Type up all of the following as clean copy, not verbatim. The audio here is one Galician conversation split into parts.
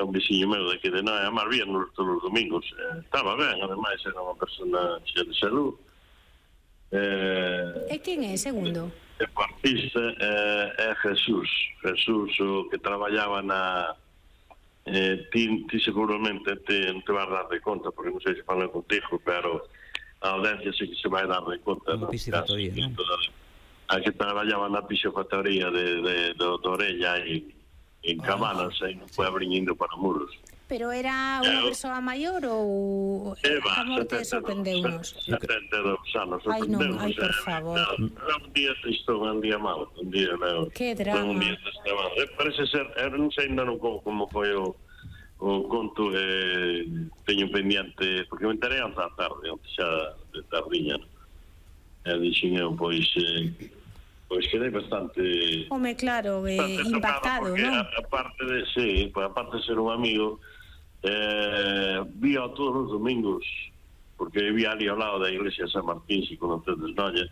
un veciño meu daqui de Noia, máis bien todos os domingos. Estaba ben, ademais era unha persona cheia de salud. E quen é, segundo? O artista é Jesús, o que traballaba na... ti seguramente te vas dar de conta, porque non sei se falei contigo, pero a audiencia sí que se vai dar de conta. Unha piscifactoría, non? A que traballaba na piscifactoría de Orella en Cabanas, e non foi abrindo para Muros. Pero era unha persoa maior ou a morte sorprendeu-nos? 72 anos, Ai non, sorprendeu-nos. ai, por favor. Un día tristón, un día malo, un día malo. Que drama. Un día tristón. Parece ser, non sei ainda como foi o conto, teño pendiente, porque me enterei antes da tarde, xa de tardiña, dixen eu, pois quedei bastante... Home, claro, impactado, non? Aparte de ser un amigo, vía todos os domingos, porque vivía ali ao lado da iglesia de San Martín, se conocedes, Noia.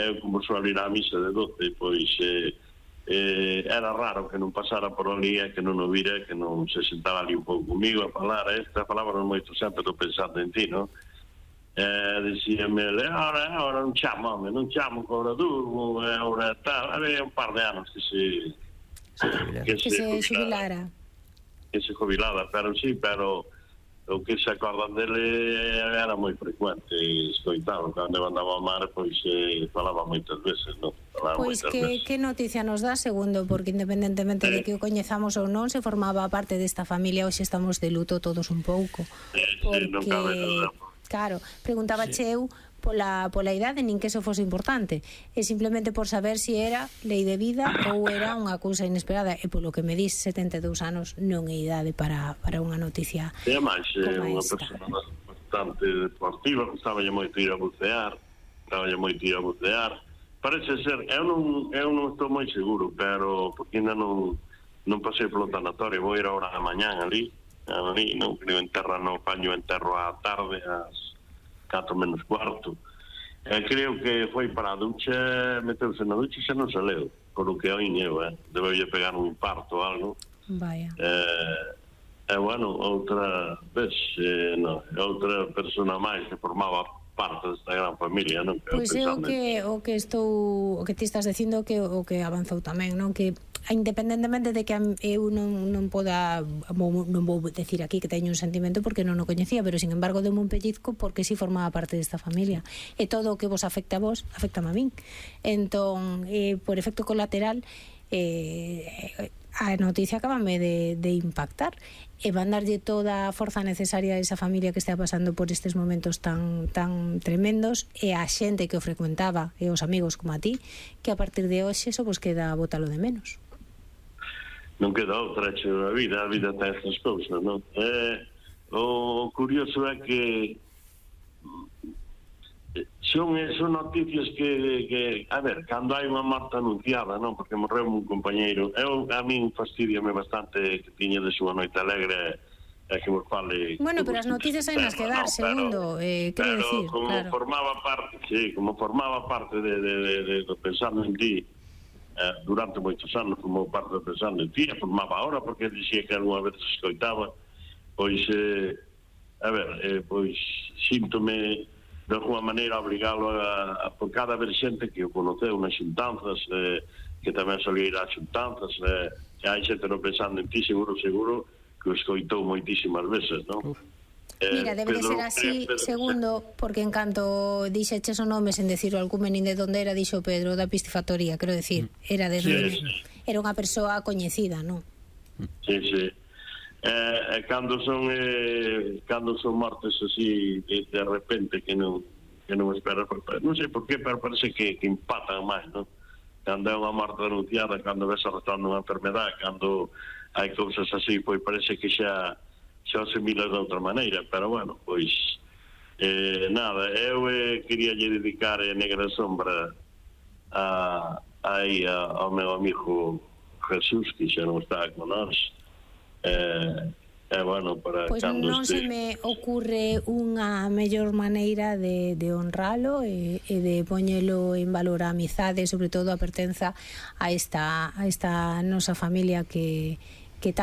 Eu como suelo ir á misa de 12, pois era raro que non pasara por ali, que non o vira, que non se sentaba ali un pouco comigo a falar. Esta palabra moito sempre estou pensando en ti, non? Dicíame, ahora non chamo, home, non chamo que ora durmo, ora tal. Había un par de anos que se jubilara. Que se jubilara, pero sí, pero o que se acordan dele era moi frecuente, escoitado, cando andaba a mar, pois falaba moitas veces, non? Pois que noticia nos dá, segundo, porque independentemente de que o coñezamos ou non, se formaba parte desta familia, hoxe estamos de luto todos un pouco. Porque, non cabe nada. Claro, preguntaba eu pola idade, nin que eso fose importante, e simplemente por saber se era lei de vida ou era unha cousa inesperada, e polo que me dis, 72 anos non é idade para unha noticia como esta. É unha persona bastante deportiva, gustaba moito ir a bucear, parece ser, eu non estou moi seguro, pero porque ainda non pasei polo tanatorio, vou ir a hora da mañán ali, non creo paño enterro á tarde ás 4 menos cuarto. Creo que foi para a ducha, meteuse na ducha e xa non se leu, por o que oín eu, debeulle pegar un infarto ou algo. Vaya. Bueno, outra vez, outra persona máis que formaba parte desta gran familia, non? Pois é o que ti estás dicindo, o que avanzou tamén, non? Que independentemente de que eu non poda, non vou decir aquí que teño un sentimento porque non o coñecía, pero sin embargo demo un pellizco porque si formaba parte desta familia, e todo o que vos afecta a vos afectame a min. Entón, por efecto colateral, a noticia acabame de impactar, e van darlle toda a forza necesaria a esa familia que está pasando por estes momentos tan tremendos, e a xente que o frecuentaba, e os amigos como a ti, que a partir de hoxe só vos queda botalo de menos. Non queda outra, a vida ten estas cousas, non? O curioso é que son noticias que a ver, cando hai unha morte anunciada, non? Porque morreu un compañeiro, a min fastidiame bastante que tiña de súa noite alegre, que vos fale... Bueno, pero as noticias hai nas que dar, segundo, quero decir, como formaba parte de pensando en ti, durante moitos anos, como parte de pensando en ti, formaba ahora, porque dixía que algunha vez se escoitaba, pois, pois, síntome de alguma maneira obrigalo por cada vez xente que o conoceu nas xuntanzas, que tamén solía ir ás xuntanzas, e hai xente non pensando en ti, seguro que o escoitou moitísimas veces, non? Mira, debe de ser así, segundo, porque en canto dixeches o nome sen decir o alcume nin de onde era, dixo Pedro da piscifactoría, quero decir, era unha persoa coñecida, non? Sí. Cando son mortes así de repente que non esperas, non sei por qué, pero parece que impactan máis, non? Cando é unha morte anunciada, cando ves arrastrando unha enfermedade, cando hai cousas así, pois parece que xa se mira de outra maneira, pero bueno, pois nada, eu quería lle dedicar a Negra Sombra ao meu amigo Jesús, que xa non está con nós. Bueno, para pois non se me ocurre unha mellor maneira de honralo e de poñelo en valor a amizade, sobre todo a pertenza a esta nosa familia que tanto